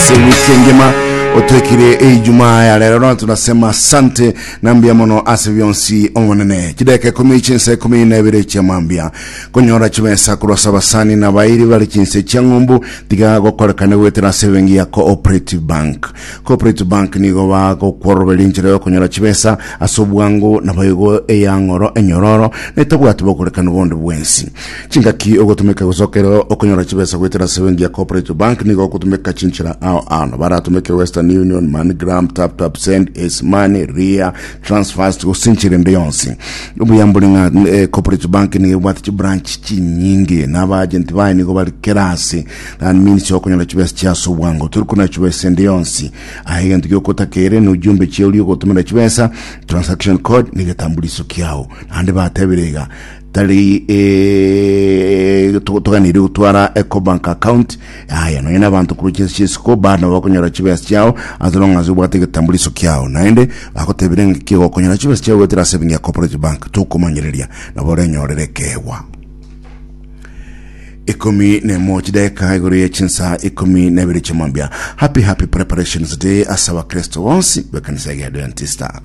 Ase wiki engima otwekire Ijumaa ya lero na tunasema asante na mbuya mono ase bionsi omonene. Chideka ikumi chinsa ikumi na ibere chia mambia konyora chibesa korwa ase abasani na abairi bare chinse chia ng'umbu tiga gokorekana goetera ase ebenki ya Cooperative Bank. Cooperative Bank nigo bagokworoberia enchera yokonyora chibesa ase obwango naboigo eyang'oro enyororo na etabwati bokorekanu bonde bwensi. Chingaki ogotumeka gose okero okonyora chibesa goetera ase ebenki ya Cooperative Bank nigo ogotumeka chinchera ao ao. Nabo aratumeke Western Union, MoneyGram, TapTap Send, Ace Money, Ria, Transfast gose enchera ende yonsi. Obuya mbore ng'a eh, Cooperative Bank nigo ebwate chibranch chinyinge na abaagent baye nigo bari kera ase. That means okonyora chibesa chia ase obwango. Tori konyora chibesa ende yonsi. Aye egento giokotakeire ne ujumbe chia oria ogotomera chibesa, transaction code na egetambuliso kiao. Naende batebire iga tari eh, to- toganeirie gotwara Ecobank account aya nonya na abanto korwa chinse chia isiko bado nabo bakonyora chibesa chiao as long as obwate egetambuliso kiao. Naende bagotebire ng'a ki gokonyora chibesa chiao goetera ase ebenki ya Cooperative Bank tokomanyereria nabo orenyorere ekeegwa. Ikomi nemo chidaeka igoro ye chinsa ikomi na ibere chiamambia. Happy happy preparations day ase abakristo bonsi b'ekanisa ya Adventista.